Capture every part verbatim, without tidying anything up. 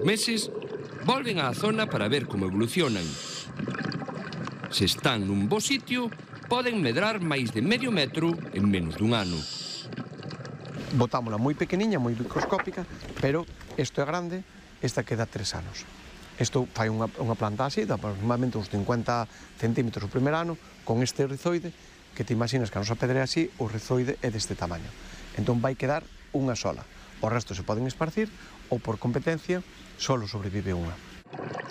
meses, volven á zona para ver como evolucionan. Se están nun bo sitio, poden medrar máis de medio metro en menos dun ano. Botámola moi pequeniña, moi microscópica, pero isto é grande, esta queda tres anos. Isto fai unha, unha planta así, de aproximadamente uns cincuenta centímetros o primer ano, con este rizoide, que te imaginas que a nosa pedra é así, o rizoide é deste tamaño. Entón vai quedar unha sola. O resto se poden esparcir, ou por competencia, solo sobrevive unha.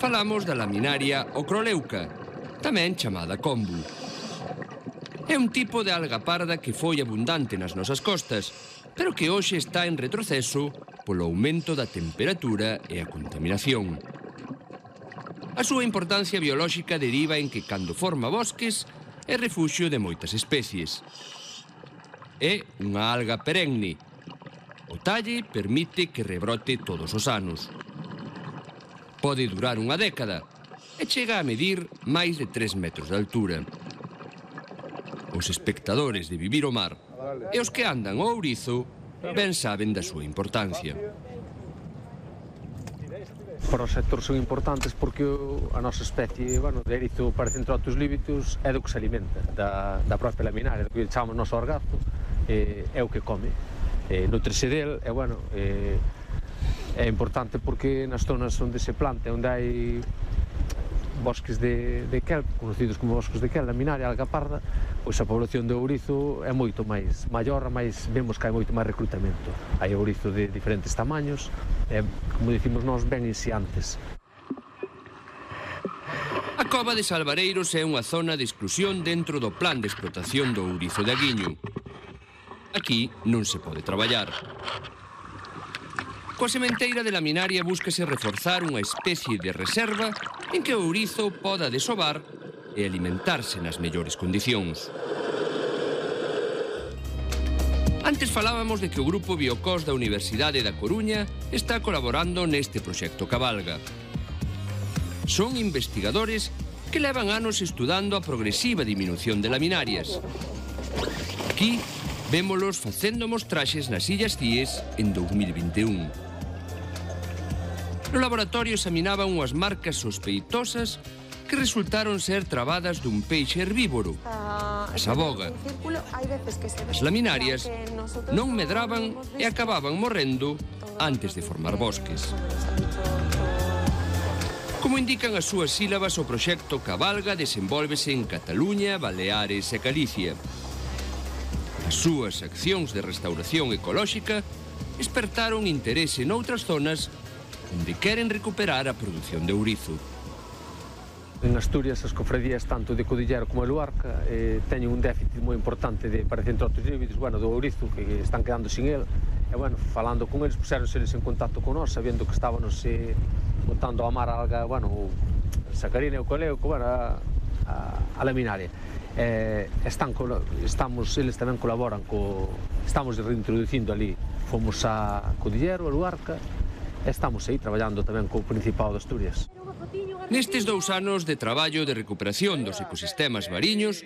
Falamos da laminaria ocroleuca, tamén chamada kombu. É un tipo de alga parda que foi abundante nas nosas costas, pero que hoxe está en retroceso polo aumento da temperatura e a contaminación. A súa importancia biolóxica deriva en que, cando forma bosques, é refuxio de moitas especies. É unha alga perenne. O talle permite que rebrote todos os anos. Pode durar unha década e chega a medir máis de tres metros de altura. Os espectadores de Vivir o Mar e os que andan ao ourizo ben saben da súa importancia. Para o sector son importantes porque a nosa especie, bueno, de erizo Paracentrotus libitus é do que se alimenta, da, da propia laminaria, do que chamamos noso orgazo, eh, é o que come. Eh, nutrese del, e, bueno, eh, é importante porque nas zonas onde se planta, onde hai bosques de, de kelp, conocidos como bosques de kelp, laminaria, alga parda, pois a población de ourizo é moito máis maior, máis vemos que hai moito máis recrutamento. Hai ourizo de diferentes tamaños, e, como dicimos nós, ben inseantes. A cova de Salvareiros é unha zona de exclusión dentro do plan de explotación do ourizo de Aguiño. Aquí non se pode traballar. Coa sementeira de laminaria búscase reforzar unha especie de reserva en que o ourizo poda desovar e alimentarse nas mellores condicións. Antes falábamos de que o Grupo Biocós da Universidade da Coruña está colaborando neste proxecto Cabalga. Son investigadores que levan anos estudando a progresiva diminución de laminarias. Aquí vémolos facendo mostraxes nas Illas Cíes en dous mil vinte e un. No laboratorio examinaban unhas marcas sospeitosas que resultaron ser trabadas dun peixe herbívoro, a saboga. As laminarias non medraban e acababan morrendo antes de formar bosques. Como indican as súas sílabas, o proxecto Cabalga desenvólvese en Cataluña, Baleares e Galicia. As súas accións de restauración ecolóxica despertaron interese noutras zonas onde queren recuperar a produción de ourizo. En Asturias, as cofradías tanto de Codillero como de Luarca eh, teñen un déficit moi importante de Paracentrotus libitus, bueno, do ourizo, que están quedando sin el. E, bueno, falando con eles, puseronse eles en contacto con nós, sabendo que estábamos eh, botando a mar a alga, bueno, o sacarina e o coleuco, bueno, a, a, a laminaria. Eh, están, estamos, eles tamén colaboran co, estamos reintroducindo ali, fomos a Codillero, a Luarca, e estamos aí traballando tamén co Principado de Asturias. Nestes dous anos de traballo de recuperación dos ecosistemas mariños,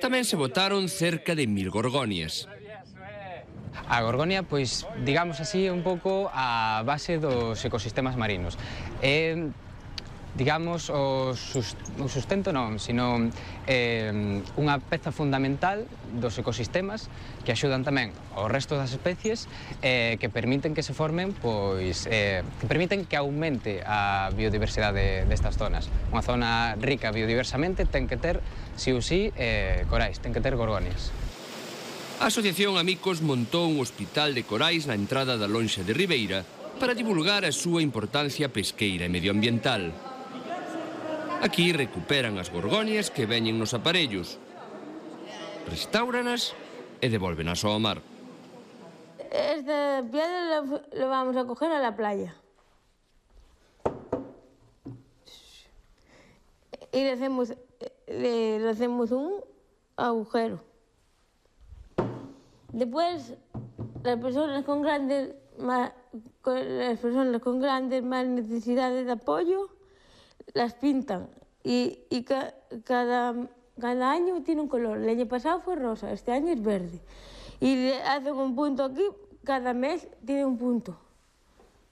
tamén se botaron cerca de mil gorgonias. A gorgonia, pois, digamos así, é un pouco a base dos ecosistemas marinos. É, digamos, o sustento non, sino eh, unha peza fundamental dos ecosistemas que axudan tamén ao resto das especies eh, que permiten que se formen, pois, eh, que permiten que aumente a biodiversidade destas zonas. Unha zona rica biodiversamente ten que ter, si ou si, eh, corais, ten que ter gorgonias. A Asociación Amicos montou un hospital de corais na entrada da lonxa de Ribeira para divulgar a súa importancia pesqueira e medioambiental. Aquí recuperan as gorgonias que veñen nos aparellos, restauranas e devolvenas ao mar. Esta piedra la vamos a coger a la playa. Y le hacemos, le, le hacemos un agujero. Después, las personas con grandes, más, con las personas con grandes más necesidades de apoyo las pintan y, y ca, cada, cada año tiene un color. El año pasado fue rosa, este año es verde. Y le hacen un punto aquí, cada mes tiene un punto.